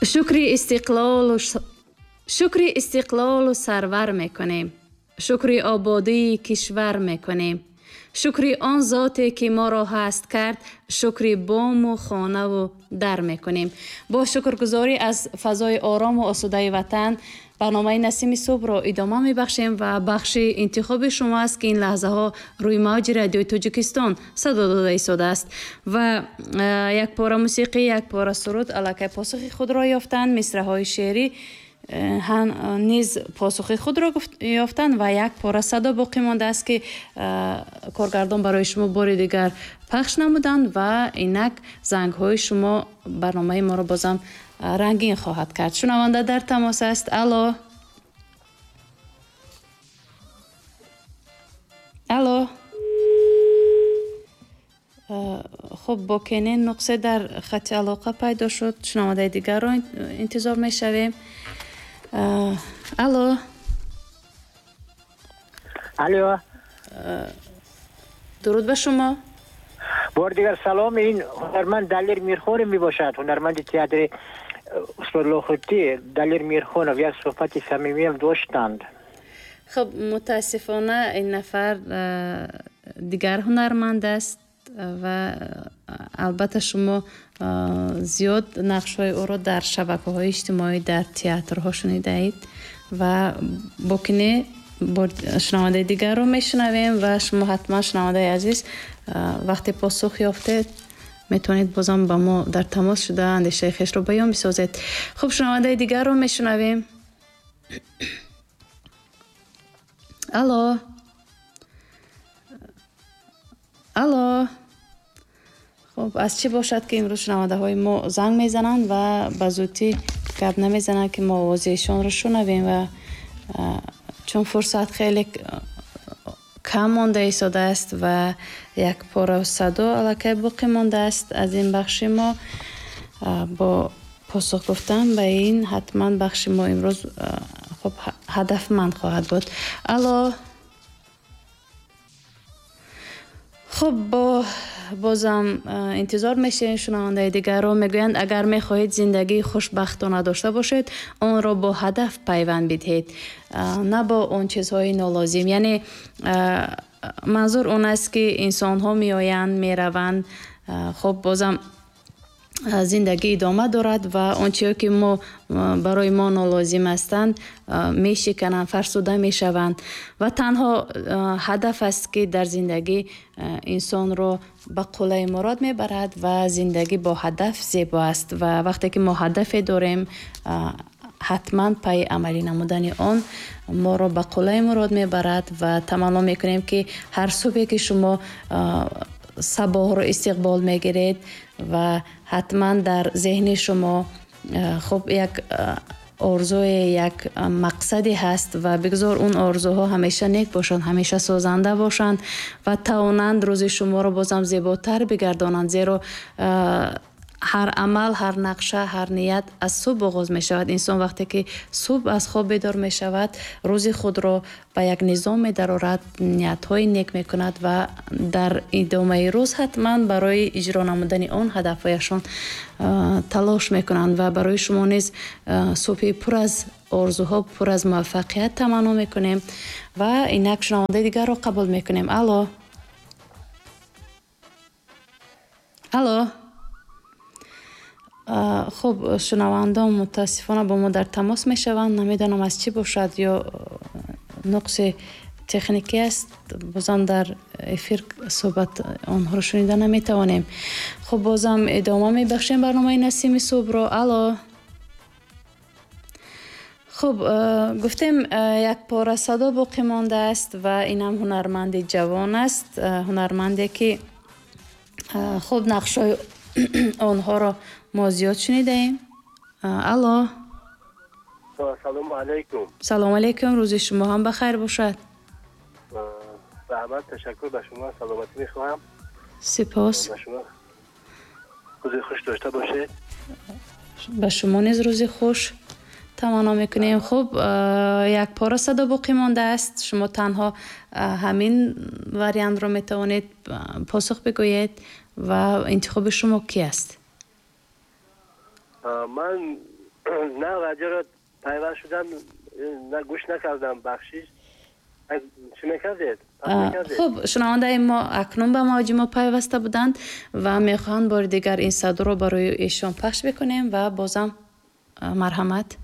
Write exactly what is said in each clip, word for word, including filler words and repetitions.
Шукри истиқлолу шукри истиқлолу сарвар мекунем, шукри ободии кишвар мекунем, шукри он зоте ки моро ҳаст кард, шукри бому хонаву дар мекунем. Бо шукргузорӣ аз фазои орому осудаи ватан барномаи Насими субҳро идома мебахшем ва бахши интихоби шумо аст, ки ин лаҳзаҳо рӯи мавҷи радиои Тоҷикистон садо дода истодааст ва як пора мусиқӣ, як пора суруд аллакай посухи худро ёфтанд, мисраҳои шеърӣ низ посухи худро ёфтанд ва як пора садо боқӣ мондааст, ки коргардон барои шумо бори дигар пахш намуданд ва инак зангҳои шумо барномаи моро бозам рангин хоҳад кард. Шунаванда дар тамос аст. Алло, алло. Хуб, бо кенин нуқсе дар хати алоқа пайдо шуд. Шунавандаи дигарро интизор мешавем. Алло, алло, дуруд ба шумо. Бори дигар салом. Ин ҳунарманд Далер Мирхонов мебошад, ҳунарманди театри устод Лохутӣ. Далер Мирхонов як суҳбати самимиам доштанд. Хуб, мутаассифона ин нафар дигар ҳунарманд аст ва албатта шумо зиёд нақшҳои ӯро дар шабакаҳои иҷтимоӣ, дар театрҳо шунидаед ва бокине шунавандаи дигарро мешунавем ва шумо ҳатман, шунавандаи азиз, вақте посух ёфтед, метавонед бозам ба мо дар тамос шуда андешаи хешро баён бисозед. Хуб, шунавандаи дигарро мешунавем. Алло, алло. Хуб, аз чӣ бошад, ки имрӯз шунавандаҳои мо занг мезананд ва ба зудӣ гап намезананд, ки мо овози эшонро шунавем ва чун фурсат хеле кам монда истодааст ва як пора садо аллакай боқӣ мондааст аз ин бахши мо, бо посух гуфтан ба ин ҳатман бахши мо имрӯз хуб ҳадафманд хоҳад буд. Алло. Хуб, бо бозам интизор мешавем шунавандаи дигарро. Мегӯянд, агар мехоҳед зиндагии хушбахтона дошта бошед, онро бо ҳадаф пайванд бидиҳед, на бо он чизҳои нолозим. Яъне манзур он аст, ки инсонҳо меоянд, мераванд, хуб бозам зиндагӣ идома дорад ва он чизе ки мо барои мо нолозим ҳастанд, мешикананд, фарсуда мешаванд ва танҳо ҳадаф аст, ки дар зиндагӣ инсонро ба қуллаи мурод мебарад ва зиндагӣ бо ҳадаф зебо аст ва вақте ки мо ҳадафе дорем, ҳатман пайи амалӣ намудани он моро ба қуллаи мурод мебарад ва таманно мекунем, ки ҳар субҳе ки шумо сабоҳро истиқбол мегиред ва ҳатман дар зеҳни шумо хуб як орзуе, як мақсаде ҳаст ва бигзор он орзуҳо ҳамеша нек бошанд, ҳамеша созанда бошанд ва тавонанд рӯзи шуморо бозам зеботар бигардонанд, зеро ҳар амал, ҳар нақша, ҳар ният аз субҳ оғоз мешавад. Инсон вақте ки субҳ аз хоб бедор мешавад, рӯзи худро ба як низом медарорад, ниятҳои нек мекунад ва дар идомаи рӯз ҳатман барои иҷро намудани он ҳадафҳояшон талош мекунанд ва барои шумо низ субҳи пур аз орзуҳо, пур аз муваффақият таманно мекунем ва инак шунавандаи дигарро қабул мекунем. Алло, алло. Хуб, шунавандон мутаассифона бо мо дар тамос мешаванд. Намедонам аз чӣ бошад, ё нуқси техникӣ аст, бозам дар эфир суҳбат онҳоро шунида наметавонем. Хуб, бозам идома мебахшем барномаи Насими субҳро. Алло. Хуб, гуфтем як пора садо боқӣ мондааст ва инам ҳунарманди ҷавон аст, ҳунарманде ки хуб нақшҳои онҳоро мо зиёд шунидаем. Алло. Салому алайкум. Салому алайкум, рӯзи шумо ҳам ба хайр бошад. Раҳмат, ташаккур ба шумо, саломатӣ мехоҳам. Сипос. Ба шумо рӯзи хуш дошта бошед. Ба шумо низ рӯзи хуш таманно мекунем. Хуб, як пора садо боқӣ мондааст. Шумо танҳо ҳамин вариантро метавонед посух бигӯед ва интихоби шумо ки аст? Ман На, радиоро пайваст шудам, на гӯш накардам, бахшиш. Чӣ мекардед? Хуб, шунавандаи мо акнун ба мавҷи мо пайваста буданд ва мехоҳанд бори дигар ин садоро барои эшон пахш бикунем ва бозам марҳамат.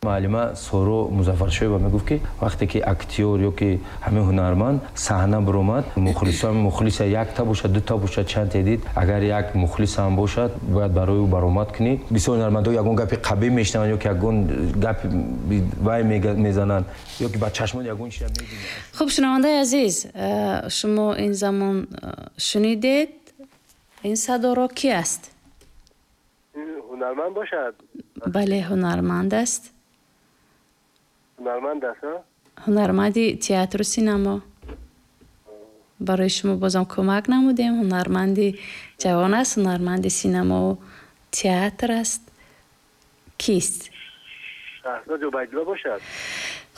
Муаллима Соро Музаффаршоева мегуфт, ки вақте ки актёр ё ки ҳамин ҳунарманд саҳна баромад, мухлисон мухлиса якта бошад, дута бошад, чанд дид, агар як мухлис ҳам бошад, бояд барои ӯ баромад кунӣ. Бисёр ҳунармандҳо ягон гапи қабеҳ мешунаванд ё ки ягон гапи вай мезананд ё ки ба чашмон ягон чиза мебинанд. Хуб, шунавандаи азиз, шумо ин замон шунидед, ин садоро ки аст? Ҳунарманд бошад? Бале, ҳунарманд аст. Ҳунарманд аст, ҳа? Ҳунарманди театру синамо. Барои шумо бозам кӯмак намудем. Ҳунарманди ҷавон аст, ҳунарманди синамову театр аст. Кист? Шаҳзод Убайдулло бошад.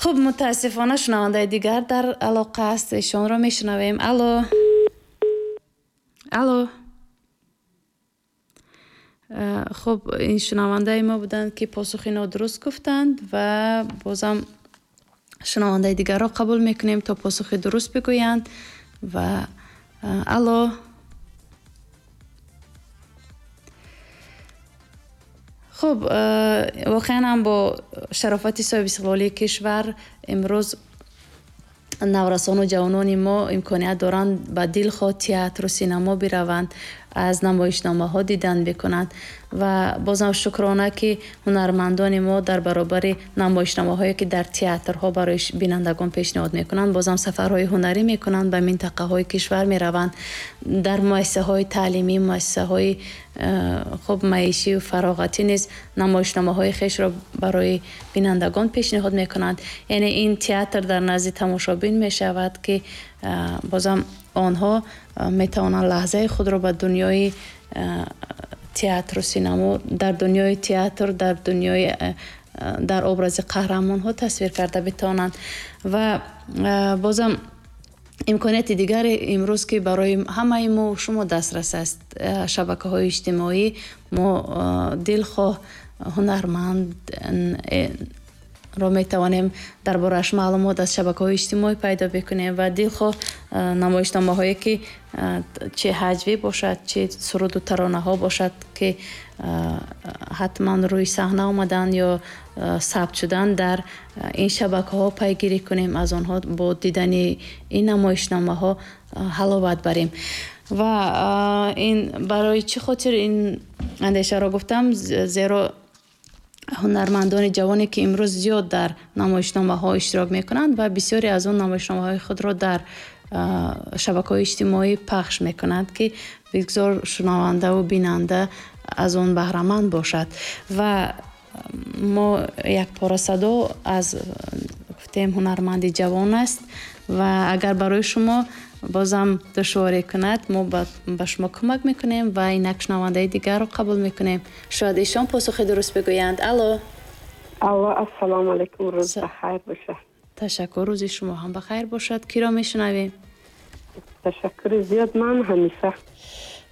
Хуб, мутаассифона шунавандаи дигар дар алоқа аст, эшонро мешунавем. Алло, алло. Хуб, ин шунавандаи мо буданд, ки посухи нодуруст гуфтанд ва бозам шунавандаи дигарро қабул мекунем то посухи дуруст бигӯянд. Ва алло. Хуб, воқеан ҳам бо шарофати соҳибистиқлолии кишвар имрӯз наврасону ҷавонони мо имконият доранд ба дилхоҳ театру синамо бираванд, аз намоишномаҳо дидан бикунанд ва бозам шукрона, ки ҳунармандони мо дар баробари намоишномаҳое, ки дар театрҳо барои бинандагон пешниҳод мекунанд, бозам сафарҳои ҳунарӣ мекунанд, ба минтақаҳои кишвар мераванд, дар муассисаҳои таълимӣ, муассисаҳои хуб маишию фароғатӣ низ намоишномаҳои хешро барои бинандагон пешниҳод мекунанд. Яъне ин театр дар назди тамошобин мешавад, ки бозам онҳо метавонанд лаҳзаи худро ба дунёи театру синамо, дар дунёи театр, дар дунёи дар образи қаҳрамонҳо тасвир карда битавонанд. Ва бозам имконияти дигаре имрӯз, ки барои ҳамаи мо шумо дастрас аст, шабакаҳои иҷтимоӣ, мо дилхоҳ ҳунарманд ро метавонем дар борааш маълумот аз шабакаҳои иҷтимоӣ пайдо бикунем ва дилхоҳ намоишномаҳое, ки чӣ ҳаҷвӣ бошад, чӣ суруду таронаҳо бошад, ки ҳатман рӯи саҳна омаданд ё сабт шуданд, дар ин шабакаҳо пайгирӣ кунем, аз онҳо бо дидани ин намоишномаҳо ҳаловат барем. Ва ин барои чӣ хотир ин андешаро гуфтам, зеро ҳунармандони ҷавоне, ки имрӯз зиёд дар намоишномаҳо иштирок мекунанд ва бисёре аз он намоишномаҳои худро дар шабакаҳои иҷтимоӣ пахш мекунанд, ки бигзор шунавандаву бинанда аз он баҳраманд бошад. Ва мо як пора садо аз гуфтем ҳунарманди ҷавон аст ва агар барои шумо бозам душворӣ кунад, мо ба шумо кӯмак мекунем ва инак шунавандаи дигарро қабул мекунем. Шояд эшон посухи дуруст бигӯянд. Алло. Алло, ассалому алайкум, рӯз бахайр бошад. Ташаккур, рӯзи шумо ҳам бахайр бошад. Киро мешунавем? Ташаккури зиёд, ман Ҳанифа.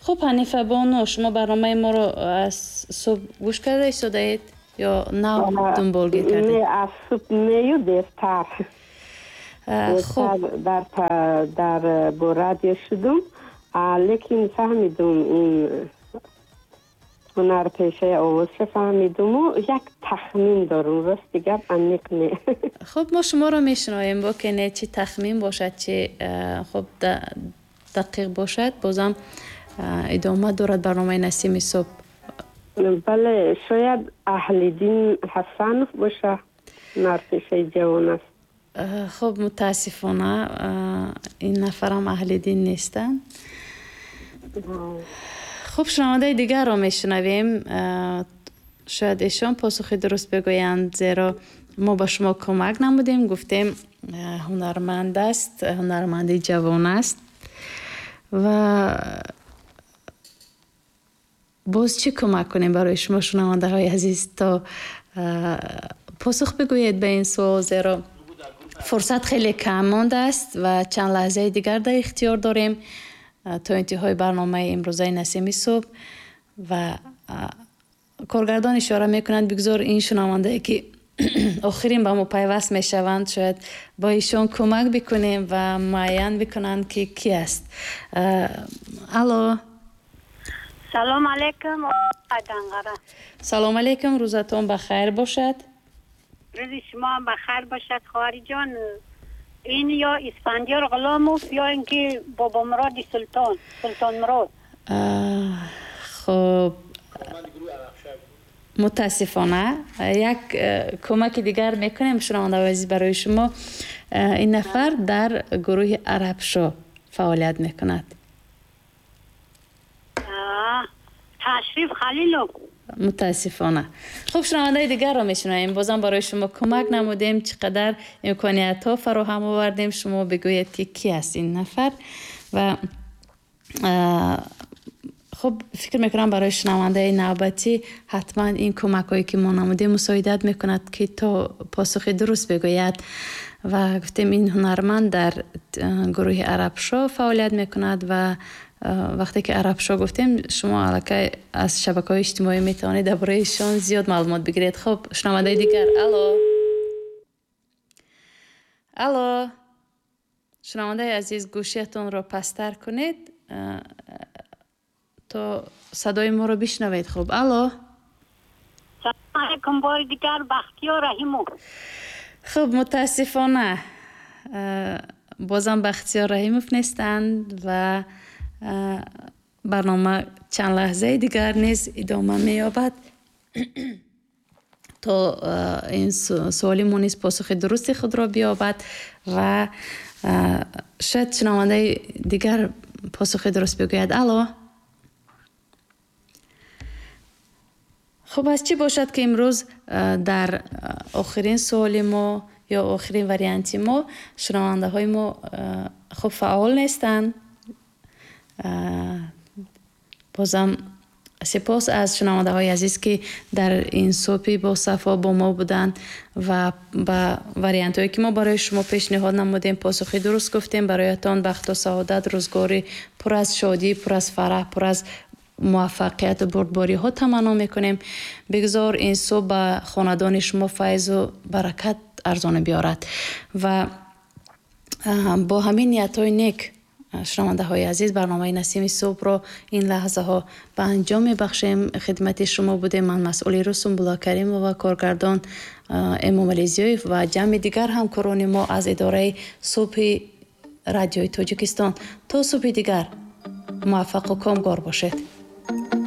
Хуб, Ҳанифа бону, шумо барномаи моро аз субҳ гӯш карда истодаед ё нав дунболгир кардед? Не, аз субҳ нею дертар. Хуб, дар дар бо радио шудум, лекин фаҳмидум ин ҳунарпешаи овозша фаҳмидуму як тахмин дорум, рости гап аниқ не. Хуб, мо шуморо мешунавем, бо ки не чӣ тахмин бошад, чӣ хуб дақиқ бошад, бозам идома дорад барномаи Насими субҳ. Бале, шояд Аҳлиддин Ҳасанов боша, ҳунарпешаи ҷавон аст. Хуб, мутаассифона ин нафарам аҳли дин нестанд. Хуб, шунавандаи дигарро мешунавем. Шояд эшон посухи дуруст бигӯянд, зеро мо ба шумо кӯмак намудем, гуфтем ҳунарманд аст, ҳунарманди ҷавон аст. Ва боз чӣ кӯмак кунем барои шумо шунавандаҳои азиз, то посух бигӯед ба ин суол, зеро фурсат хеле кам мондааст ва чанд лаҳзаи дигар дар ихтиёр дорем то интиҳои барномаи имрӯзаи Насими субҳ. Ва Коргардон ишора мекунанд, бигзор ин шунавандае ки охирин ба мо пайваст мешаванд, шояд бо ишон кӯмак бикунем ва муайян бикунанд ки ки аст. Алло. Салом алейкум, Данғара. Салом алейкум, рӯзатон ба хайр бошад. Рӯзи шумо ҳам ба хайр бошад, хоҳариҷон. Ин ё Исфандиёр Ғуломов ё ин ки Бобомуроди Султон, Султонмурод. Хуб, мутаассифона як кӯмаки дигар мекунем, шунавандаҳои азиз, барои шумо. Ин нафар дар гурӯҳи Арабшо фаъолият мекунад. Ташриф Халилов. Мутаассифона. Хуб, шунавандаи дигарро мешунавем. Бозам барои шумо кӯмак намудем, чӣ қадар имкониятҳо фароҳам овардем. Шумо бигӯед ки ки аст ин нафар. Ва хуб, фикр мекунам барои шунавандаи навбатӣ ҳатман ин кӯмакҳое ки мо намудем мусоидат мекунад ки то посухи дуруст бигӯяд. Ва гуфтем ин ҳунарманд дар гурӯҳи Арабшо фаъолият мекунад ва вақте ки Арабшо гуфтем, шумо аллакай аз шабакаҳои иҷтимоӣ метавонед дар бораи ишон зиёд маълумот бигиред. Хуб, шунавандаи дигар. Алло. Алло. Шунавандаи азиз, гӯшиятонро пасттар кунед то садои моро бишнавед. Хуб, алло. Салом алейкум, бори дигар Бахтиёр Раҳимов. Хуб, мутаассифона бозам Бахтиёр Раҳимов нестанд ва барнома чанд лаҳзаи дигар низ идома меёбад то ин суоли мо низ посухи дурусти худро биёбад ва шояд шунавандаи дигар посухи дуруст бигӯяд. Алло. Хуб, аз чӣ бошад ки имрӯз дар охирин суоли мо ё охирин варианти мо шунавандаҳои мо хуб фаъол нестанд. Бозам сипос аз шунавандаҳои азиз ки дар ин субҳи босафо бо мо буданд ва ба вариантҳое ки мо барои шумо пешниҳод намудем посухи дуруст гуфтем. Бароятон бахту саодат, рӯзгори пур аз шодӣ, пур аз фараҳ, пур аз муваффақияту бурдбориҳо таманно мекунем. Бигзор ин субҳ ба хонадони шумо файзу баракат арзона биёрад ва бо ҳамин ниятҳои нек, шунавандаҳои азиз, барномаи Насими субҳро ин лаҳзаҳо ба анҷом мебахшем. Хидмати шумо будем ман, масъули Русумбулло Каримова, коргардон Эмомалӣ Зиёев ва ҷамъи дигар ҳамкорони мо аз идораи субҳи радиои Тоҷикистон. То субҳи дигар муваффақу комгор бошед.